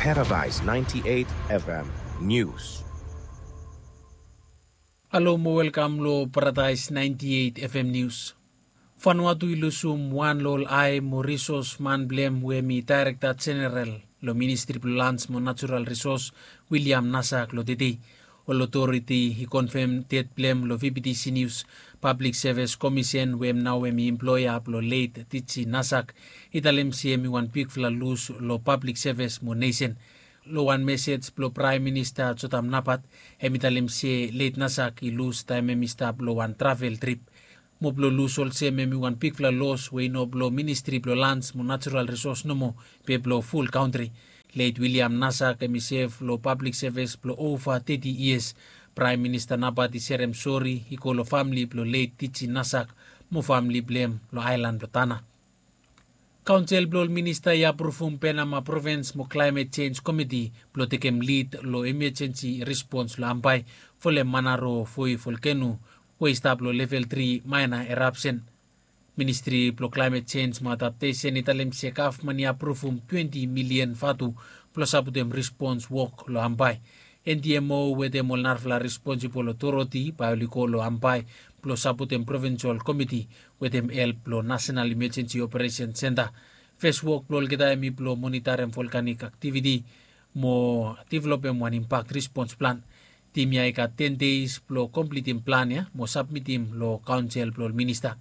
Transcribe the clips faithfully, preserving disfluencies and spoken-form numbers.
Paradise ninety-eight F M News. Halo mo welkam lo Paradise ninety-eight F M News. Vanuatu i lusum wan lo ol ae mo risos man blem we hem i daerekta jeneral lo Ministri blo Lans mo Natural Risos, William Nasak, lo tede. Ol otoriti i konfem ded blem lo V P T C News. Pablik Sevis Komisen we hem nao hem i emploea blo let Tiji Nasak i talem se hem i wan bigfala lus lo pablik sevis mo nesen. Lo wan mesej blo Praem Minista Jotam Napat, hem i talem se let Nasak i lus taem hem i stap lo wan travel trip. Mo blo lus olsem hem i wan bigfala los we i no blo Ministri blo Lans mo Natural Risos nomo, be blo ful kantri. Let William Nasak hem i sev lo pablik sevis blo ova teti yias. Praem Minista Napat i serem sori i go lo famle blo let Tiji Nasak mo famle blem lo aelan blo Tana. Kaonsel blo ol minista i apruvum Penama Provins mo Klaemet Jenj Komiti blo tekem lid lo emejensi respons lo Ambae folem Manaro Voi volkeno we i stap lo level tri maena erapsen. Ministri blo Klaemet Jenj mo Adaptesen i talem se gavman i apruvum twenti milian vatu blo sapotem respons wok lo Ambae. N D M O wetem ol narafala responsibol otoriti bae oli go lo Ambae blo sapotem provinsol komiti wetem help blo Nasenal Imejensi Operesen Senta. Fes wok blo olgeta hem i blo monitarem volkanik aktiviti mo developem wan impak respons plan. Tim ya i gat ten deis blo komplitim plan ya mo sabmitim lo kaonsel blo ol minista.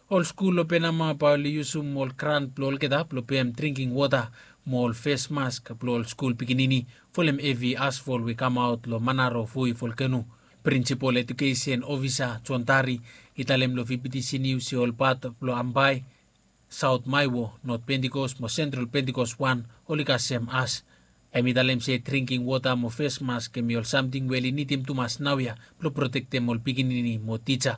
Ol skul lo Penama bae oli yusum ol grant blo olgeta blo pem dringking wota mo ol fes mask blo ol skul pikinini folem hevi asfol we i kamaot lo Manaro Voi volkeno. Prinsipol Edukesen Ofisa Jon Tari i talem lo V P T C Nius se ol pat blo Ambae, Saot Maewo, Not Pentikos mo Sentral Pentikos wan oli kasem as. Hem i talem se dringking wota mo fes mask hem i ol samting we oli nidim tumas naoia blo protektem ol pikinini mo tija.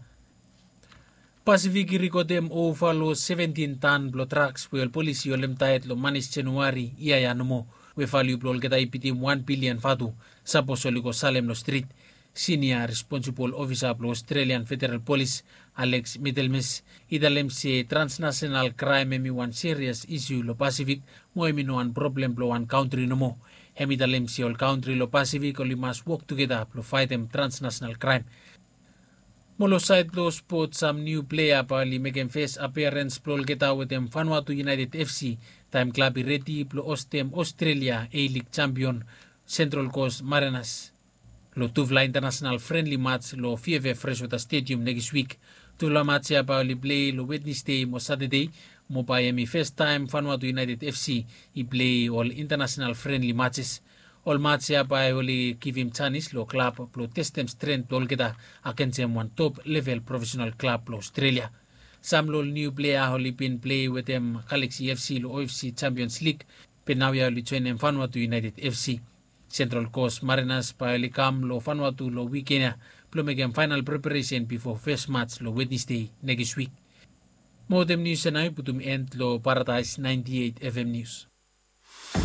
Pasifik i rekodem ova lo seventin tan blo draks we ol polis i holemtaet lo manis Januari yia ya nomo, we valiu blo olgeta i bitim wan bilian vatu, sapos oli go salem lo strit. Sinia responsibol ofisa blo Australian Federal Polis, Alex Middlemas, i talem se transnasenal kraem hem i wan serias isu lo Pasifik mo hem i no wan problem blo wan kantri nomo. Hem i talem se ol kantri lo Pasifik oli mas wok tugeta blo faetem transnasenal kraem. Mo lo saed blo spot, sam niu plea bae oli mekem fes apiarens blo olgeta wetem Vanuatu United F C taem klab i redi blo hostem Australia A-League jampion Central Coast Mariners lo tufala intanasenal frenli mats lo V F F Freshwater Stadium nekis wik. Tufala mats ya bae oli plei lo Wednesdei mo Satadei, mo bae hem i fes taem Vanuatu United F C i plei ol intanasenal frenli matses. Ol mats ya bae oli givim janis lo klab blo testem stren blo olgeta agensem wan top level profesenal klab blo Australia. Sam lo ol niu plea oli bin plei wetem Galaxy F C lo O F C Champions League, be naoia oli joenem Vanuatu United F C. Central Coast Mariners bae oli kam lo Vanuatu lo wiken ya blo mekem faenal preparesen bifo fes mats lo Wednesdei nekis wik. Mo wetem nius ya nao i putum en lo Paradise ninety-eight F M News.